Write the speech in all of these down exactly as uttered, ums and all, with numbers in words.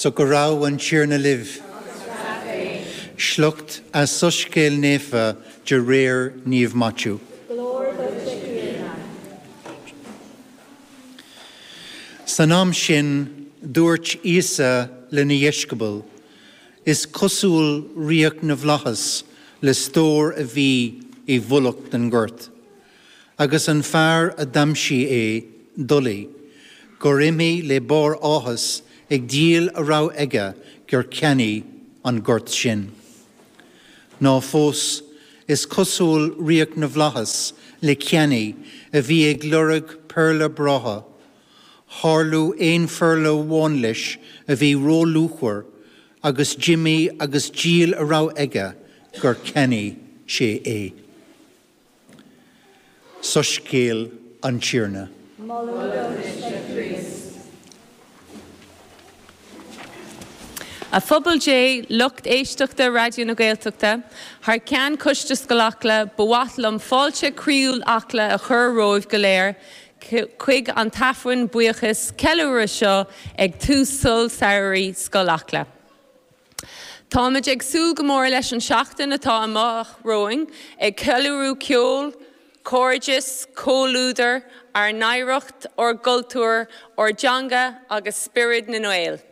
So go raibh an Tiarna libh. Sliocht as Soiscéal Naofa de réir Naomh Maitiú. San am sin dúirt Íosa lena dheisceabail, Is cosúil ríocht na bhflaitheas le stór a bhí i bhfolach den ghort. Agus an fear a d'aimsigh é, d'fholaigh, gur imigh le barr áthais ag díol a raibh aige gur cheannaigh an gort sin. Ná fós is cosúil ríocht na bhflaitheas le ceannaí a bhí ag lorg péarla breátha, Tharla aon phéarla amháin leis a bhí róluachmhar agus d'imigh agus dhíol a raibh aige gur cheannaigh sé é. Soiscéal an Tiarna. A phobal Dé, lucht éisteachta Raidió na Gaeltachta, thar ceann Coiste Scoil Acla, ba mhaith liom fáilte croíúil Acla a chur romhaibh go léir chuig an t-aifreann buíochais ceiliúradh seo ag tús scoil samhraidh Scoil Acla. Táimid ag súil go mór leis an seachtain atá amach romhainn ag ceiliúradh ceol, cairdeas, comhluadar, ár n-oidhreacht, ár gcultúr, ár dteanga agus spiorad na nGael.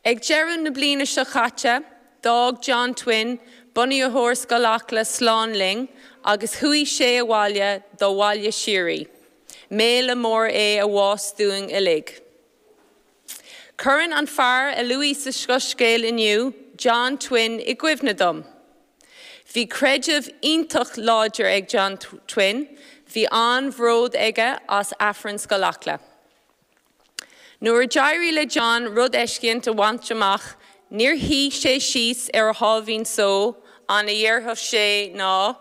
Ag deireadh na bliana seo caite, d'fhág John Twin, bunaitheoir Scoil Acla slán linn agus chuaigh sé abhaile dá bhaile síoraí. Méala mór é a bhás dúinn uilig. Cuireann an fear a luadh sa Soiscéal inniu, John Twin, i gcuimhne dom. Bhí creideamh iontach láidir ag John Twin, bhí an-bhród aige as Aifreann Scoil Acla. Nuair a d'éirigh le John rud eiscint a bhaint amach, níor shuigh sé síos ar a sháimhín só, an a dhéarfadh sé ná,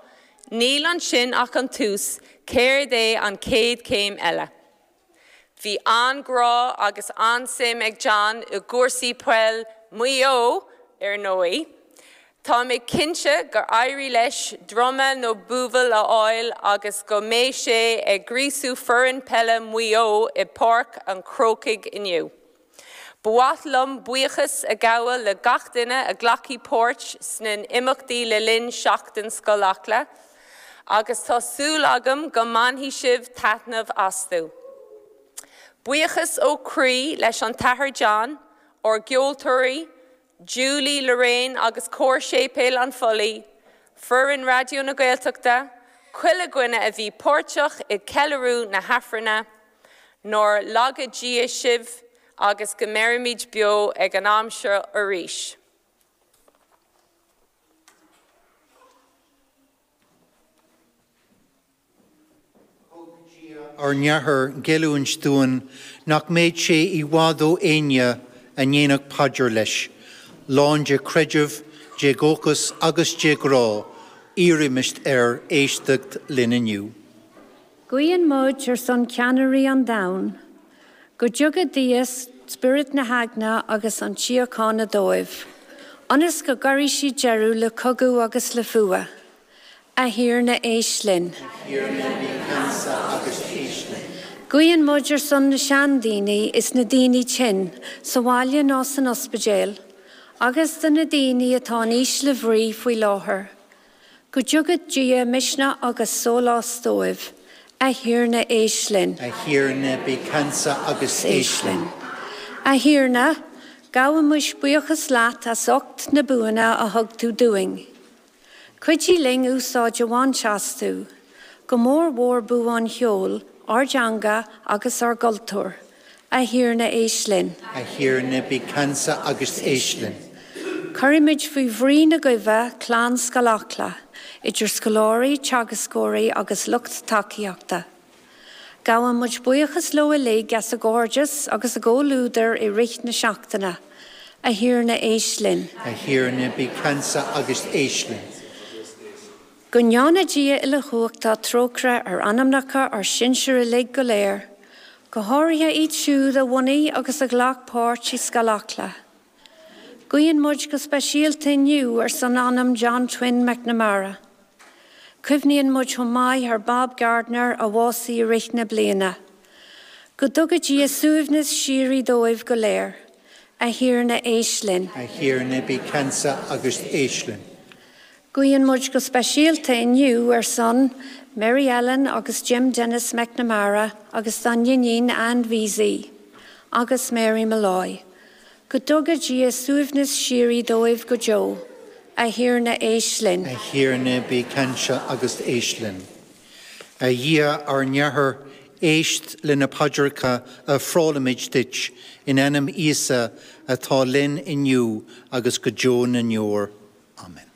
Níl ansin ach an tús, céard é an chéad chéim eile? Bhí an-ghrá agus an-suim ag John i gcúrsaí peil Mhaigh Eo, ar ndóigh. Tá mé cinnte gur éirigh leis druma nó buabhall a fháil agus go mbeidh sé ag gríosú foireann peile Mhaigh Eo i bPáirc an Chrócaigh inniu. Ba mhaith liom buíochas a ghabháil le gach duine a ghlacfaidh páirt sna imeachtaí le linn Seachtain Scoil Acla, agus tá súil agam go mbainfidh sibh taitneamh astu. Buíochas ó chroí leis an tAthair John, ár gceoltóirí, Julie Lorraine agus Cór Séipéal an Phollaigh, foireann Raidió na Gaeltachta, chuile dhuine a bhí páirteach i gceiliúradh na hAifrinne, nár laga Dia sibh agus go mbeirimid beo ag an am seo arís. Thug Dia ár nAthair geallúint dúinn nach mbeadh sé i bhfad ó éinne a ndéanfadh paidir leis, lán de chreideamh, de dhóchas agus de ghrá, iarraimis air éisteacht linn inniu. Guíonn muid ar son ceannairí an domhain, go dtuga Dia spiorad na heagna agus an tsíochána dóibh, ionas go gcuirfidh siad deireadh le cogadh agus le fuath. A Thiarna, éist linn. A Thiarna, bí ceansa agus éist linn. Guíonn muid ar son na seandaoine is na daoine tinn, sa bhaile nó san ospidéal, agus do na daoine atá in ísle bhrí faoi láthair. Go dtuga Dia misneach agus sólás dóibh. A Thiarna, éist linn. A Thiarna, bí ceansa agus éist linn. A Thiarna, gabhaimis buíochas leat as ucht na buanna a thug tú dúinn. Cuidigh linn úsáid a bhaint astu, go mór mhór bua an cheoil, ár dteanga agus ár gcultúr. A Thiarna, éist linn. A Thiarna, bí ceansa agus éist linn. Cuirimid faoi bhrí na guibhe clann Scoil Acla, idir scoláirí, teagascóirí agus lucht tacaíochta. Gabhann muid buíochas leo uilig as a gcairdeas agus a gcomhluadar i rith na seachtaine. A Thiarna, éist linn. A Thiarna, bí ceansa agus éist linn. Go ndéana Dia uilechumhachtach trócaire ar anamnacha ár sinsear uilig go léir, go háirithe iad siúd a bhunaigh agus a ghlac páirt i Scoil Acla. Guíonn muid go speisialta inniu ar son anam John Twin McNamara. Cuimhníonn muid chomh maith ar Bob Gardner a bhásaigh i rith na bliana. Go dtuga Dia suaimhneas síoraí dóibh go léir. A Thiarna éist linn. A Thiarna bí ceansa agus éist linn. Guíonn muid go speisialta inniu ar son Mary Ellen agus Jim Dennis McNamara agus dá n-iníon Ann Veazey agus Mary Malloy. Go dtuga Dia suaimhneas síoraí dóibh go deo, a Thiarna éist linn. A Thiarna bí ceansa agus éist linn. A Dhia ár nAthair éist le na paidreacha a ofrálaimid duit in ainm Íosa atá linn inniu agus go deo na ndeor. Amen.